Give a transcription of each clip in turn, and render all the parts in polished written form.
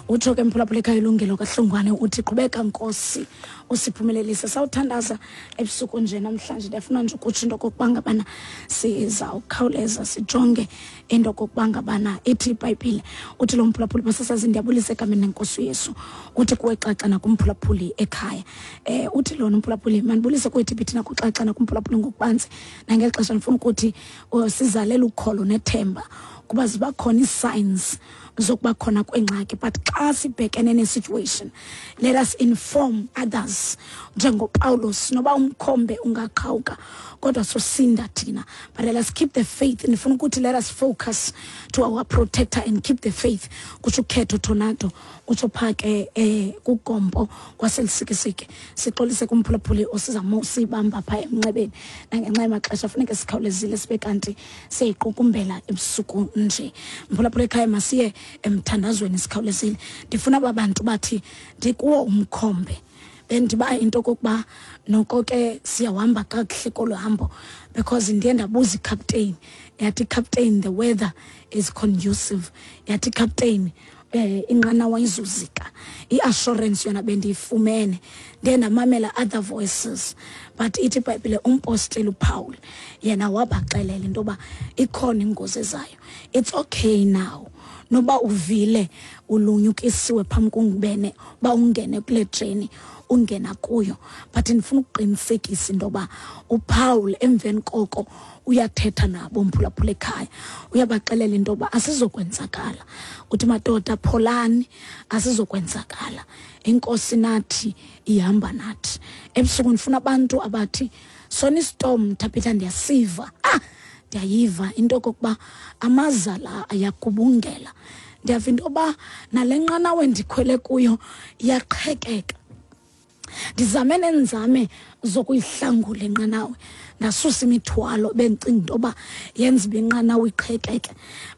Utsho ke mphulaphula ekhaya ilungelo kaHlongwane, uthi qhubeka Nkosi usiphumelelise. Sawuthandaza ebusuku nje namhlanje. Ndiyafuna nje ukutsho into okokuba ngabana sizawukhawuleza sijonge into okokuba ngabana ithi iBhayibhile. Uthi lo mphulaphuli, basasazi, ndiyabulisa egameni lenkosi uYesu. Uthi kuwe xaxa nakumphulaphuli ekhaya. Uthi lona umphulaphuli, mandibulise kuwe Thibhithi nakuxaxa nakumphulaphuli ngokubanzi nangeli xesha. Ndifuna ukuthi sizalela ukholo nethemba kuba ziba khona ii-signs zokuba khona kwengxaki, but xa sibhekene ne-situation, let us inform others njengoPawulos. Noba umkhombe ungaqhawuka, kodwa sosinda thina, but let us keep the faith. Ndifuna ukuthi let us focus to our protector and keep the faith. Kutsho ukhetho tornado, utsho phaa ke kugompo kwaseLusikisiki. Sixolise kumphulaphuli osizama usibamba phaa emnxebeni, nangenxa yamaxesha funeke sikhawulezile sibe kanti siyayiqukumbela ebusuku nje. Mphulaphula ekhaya, masiye emthandazweni sikhawulezile. Ndifuna aba bantu bathi ndikuwo umkhombe, bendiba into okokuba noko ke siyahamba kakuhle kolu hambo, because ndiye ndabuza icaptain, yathi captain, the weather is conducive. Yathi captain, inqanawa izuzika. I-assurance yona bendiyifumene, ndiye ndamamela other voices, but ithi iBhayibhile umpostile uPaul yena wabaxelela into yoba ikhona ingozi ezayo. It's okay now noba uvile ulunyukisiwe phambi kungubene uba ungene kule journey ungena kuyo, but ndifuna ukuqinisekisa into yoba uPaul emveni koko uyathetha nabo mphulaphula ekhaya, uyabaxelela into yoba asizokwenzakala. Uthi, madoda, pholani, asizokwenzakala, inkosi nathi ihamba nathi. Ebusuku ndifuna abantu abathi sona istorm, Thabitha, ndiyasiva, ndiyayiva into okokuba amaza la ayagubungela, ndiyava into yoba nale nqanawe ndikhwele kuyo iyaqhekeka. Ndizame neenzame zokuyihlangula inqanawe, ndasusa imithwalo bendicinga into yoba yenza uba inqanawe iqhekeke,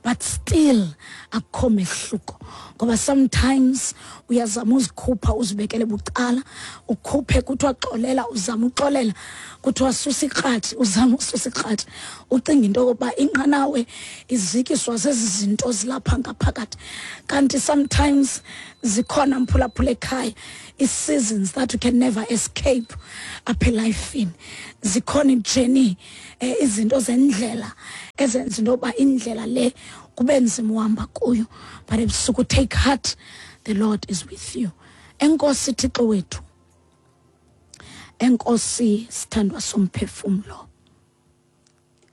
but still akukho mehluko, ngoba sometimes uyazama uzikhupha, uzibekele bucala, ukhuphe, kuthiwa xolela, uzama uxolela, kuthiwa susa ikratshi, uzama ususa ikratshi, ucinga into yokokuba inqanawe izikiswa zezi zinto zilapha ngaphakathi, kanti sometimes zikhona mphulaphula ekhaya ii-seasons that you can never escape apha elifini. Zikhona ijourney, izinto zendlela ezenza into yoba indlela le kube nzima uhamba kuyo, but ebusuku, take heart, the Lord is with you. Enkosi Thixo wethu, enkosi sithandwa somphefumlo,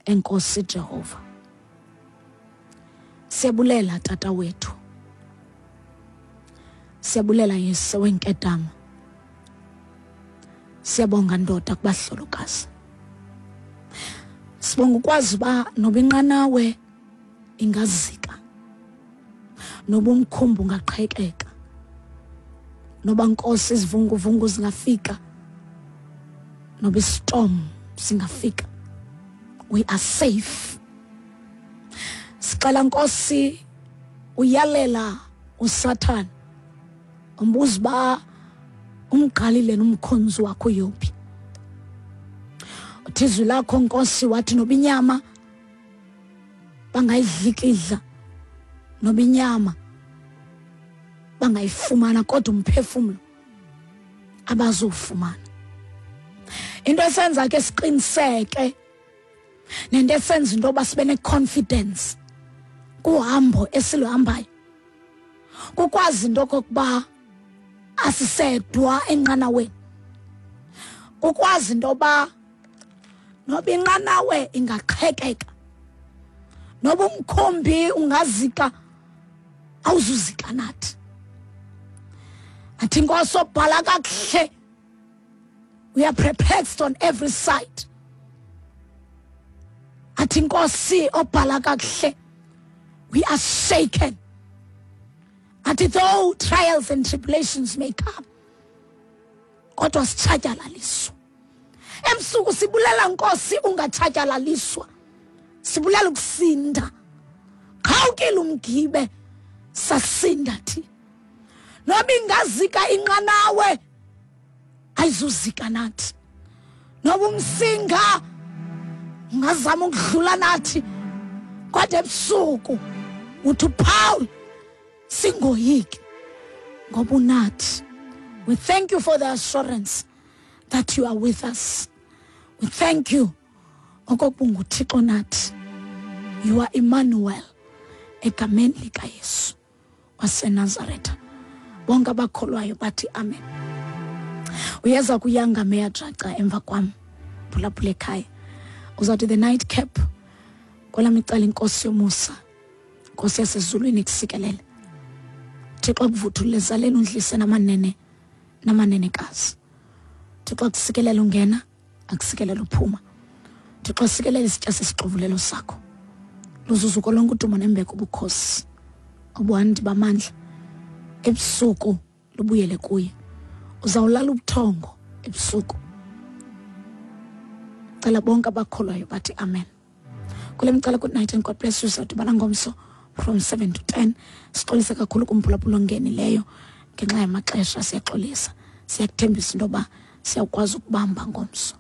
enkosi Jehova. Siyabulela tata wethu, siyabulela Yesu wenkedama, siyabonga ndoda kubahlolokazi. Sibonga ukwazi uba noba inqanawe ingazika, noba umkhumbi ungaqhekeka, noba Nkosi izivunguvungu zingafika, noba istorm singafika, we are safe. Sicela Nkosi uyalela uSathana, umbuza uba umqalile nomkhonzi wakho uYobi. Uthi izwi lakho Nkosi, wathi noba inyama bangayidlikidla, noba inyama bangayifumana, kodwa umphefumlo abazowufumana. Into esenza ke siqiniseke nento esenza into yoba sibe ne-confidence kuhambo esiluhambayo kukwazi into okokuba asisedwa enqanaweni, kukwazi into yoba noba inqanawe ingaqhekeka, noba umkhombi ungazika, awuzuzika nathi. Athi Nkosi obhala kakuhle, we are perplexed on every side. Athi Nkosi obhala kakuhle, we are shaken. Athi though trials and tribulations may come, kodwa sitshatyalaliswa. Ebusuku sibulela Nkosi ungatshatyalaliswa, sibulela ukusinda. Qhawukile umgibe, sasinda thina. Noba ingazika inqanawe, ayizuzika nathi. Noba umsinga ungazama ukudlula nathi, kodwa ebusuku uthi uPaul singoyiki. Ngoba unathi. We thank you for the assurance that you are with us. We thank you okokuba unguThixo nathi. You are Emmanuel, egameni likaYesu waseNazaretha. Bonke abakholwayo bathi amen. Uyeza kuyanga meya jaca emva kwam, phulaphula ekhaya. Uzawuthi the night cap kwelam icala. Inkosi yomusa, Nkosi yasezulwini, ikusikelele. Thixo akuvuthulule ezaleni, undlise namanene namanenekazi. Thixo akusikelele ungena, akusikelele uphuma. Thixo asikelele isitya sesixovulelo sakho. Luzuzuko lonke, udumo nembeko, ubukhosi, obuhandi bamandla ebusuku lubuyele kuye. Uzawulala ubuthongo ebusuku. Cela bonke abakholwayo bathi amen. Kule micala, good night and God bless you. Sawudibana ngomso from 7 to 10. Sixolise kakhulu kumphulaphula ongenileyo ngenxa yamaxesha, siyaxolisa. Siyakuthembisa into yoba siyawukwazi ukubamba ngomso.